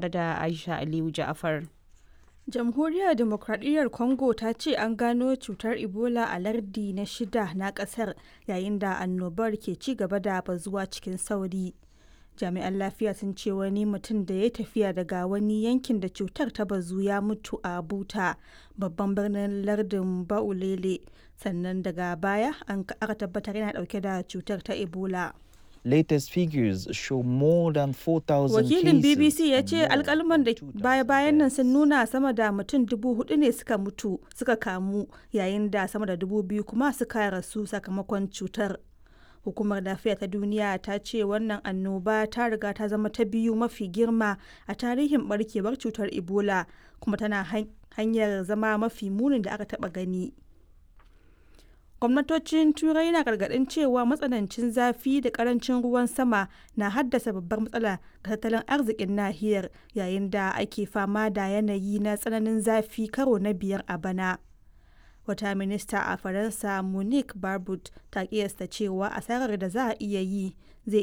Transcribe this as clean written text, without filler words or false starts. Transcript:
tare da Aisha Aliyu Ja'afar. Jamhuriyar Dimokradiyyar Congo ta ce an gano cutar Ebola a lardi na shida na kasar yayin da annobar ke ci gaba da bazuwa cikin sauri. Jami'an lafiya sun ce wani mutum da ya tafiya daga wani yankin da cutar ta bazu ya mutu a Buta, babban birnin lardin Baulele, sannan daga baya an aka tabbatar yana dauke da cutar ta Ebola. Latest figures show more than 4,000 Wakilin cases BBC ya and ce more alkalman da than 2,000 baya-bayan nan sun deaths. nuna sama da mutum 4,000 ne suka mutu suka kamu yayin da sama da 2,000 kuma suka rasu sakamakon cutar. Hukumar Lafiya ta Duniya ta ce wannan annoba ta riga ta zama ta biyu mafi girma a tarihin barkewar cutar Ebola kuma tana hanyar zama mafi munin da aka taba gani. Gwamnatocin Turai na gargaɗin cewa matsanancin zafi da ƙarancin ruwan sama na haddasa babbar matsala ga tattalin arzikin nahiyar yayin da ake fama da yanayi na tsananin zafi karo na biyar a bana. Wata minista a Faransa, Monique Barbut, ta kiyasta cewa asarar da za a iya yi zai